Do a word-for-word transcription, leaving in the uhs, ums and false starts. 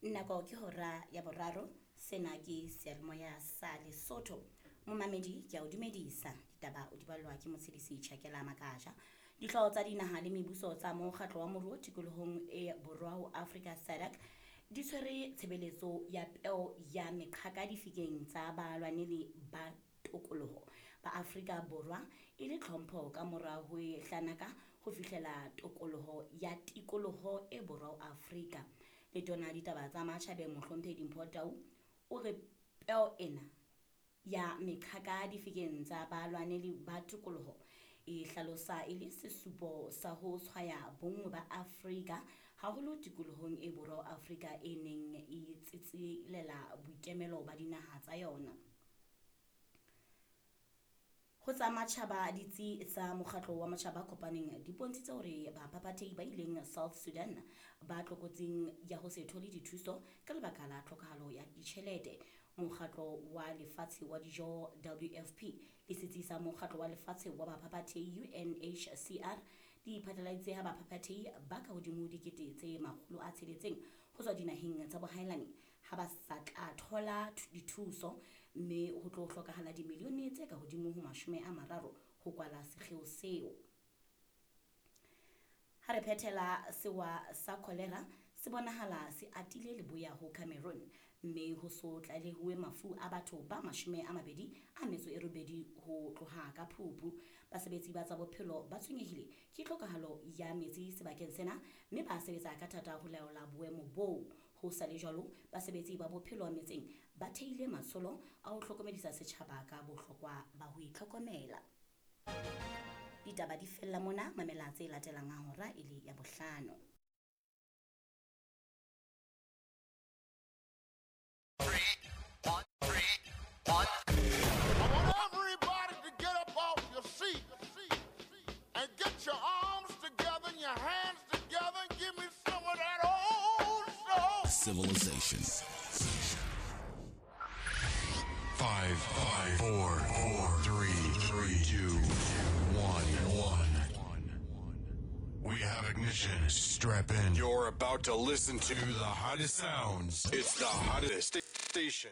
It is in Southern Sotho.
Nako ke hora ya boraro, sena ke seyalemoya sa Lesotho. Momamedi ke a o dumedisa, ditaba o di ballwa ke Motshedisi Tjhakela Makaja. Dihlooho tsa dinaha le mebuso tsa mokgatlo wa moruo tikolohong e borwa ho Afrika SADC di tshwere tshebeletso ya peo ya meqhaka difikeng tsa balwaneli ba tokoloho ba Afrika Borwa e le tlhompho ka mora ho e hlanaka ho fihlela tokoloho ya tikoloho e borwa ho Afrika. Letona ditaba tsa matjhabeng Mohlomphehi Dimpho Tau o re peo ena ya meqhaka difikeng tsa balwaneli ba tokoloho e hlalosa e le sesupo sa ho tshwaya bonngwe ba Afrika haholo tikolohong e borwa ho Afrika e neng e tsitsilela boikemelo ba dinaha tsa yona. Ho tsa matjhaba ditsi tsa mokgatlo wa matjhaba a kopaneng di bontshitse hore baphaphathehi ba ileng South Sudan ba tlokotsing ya ho se thole dithuso ka lebaka la tlhokahalo ya ditjhelete. Mokgatlo wa Lefatshe wa Dijo W F P le setsi sa mokgatlo wa lefatshe wa baphaphathehi U N H C R di phatlaladitse ha baphaphathehi ba ka hodimo dikete tse makgolo a tsheletseng ho tswa dinaheng tsa bohaelani ha ba sa tla thola dithuso, mme ho tlo hlokahala dimilione tse ka hodimo ho mashome a mararo ho kwala sekgeo seo. Ha re phethela, sewa sa cholera se bonahala se atile leboya ho Cameroon, mme ho so tlalehuwe mafu a batho ba mashome a mabedi a metso e robedi ho tloha ka Phupu. Basebetsi ba tsa bophelo ba tshwenyehile ke tlhokahalo ya metsi sebakeng sena, mme ba sebetsa ka thata ho laola boemo boo. Ho sa le jwalo, basebetsi ba bophelo metseng ba theile matsholo a ho hlokomedisa setjhaba ka bohlokwa ba ho itlhokomela. Ditaba di fella mona, mamela tse latelang ha hora e le ya bohlano. Three, one, three, one. I want everybody to get up off your seat and get your arms together and your hands together and give me some of that old soul. Civilization. Five, five, four, four, three, three, two, one, one. We have ignition. Strap in. You're about to listen to the hottest sounds. It's the hottest station.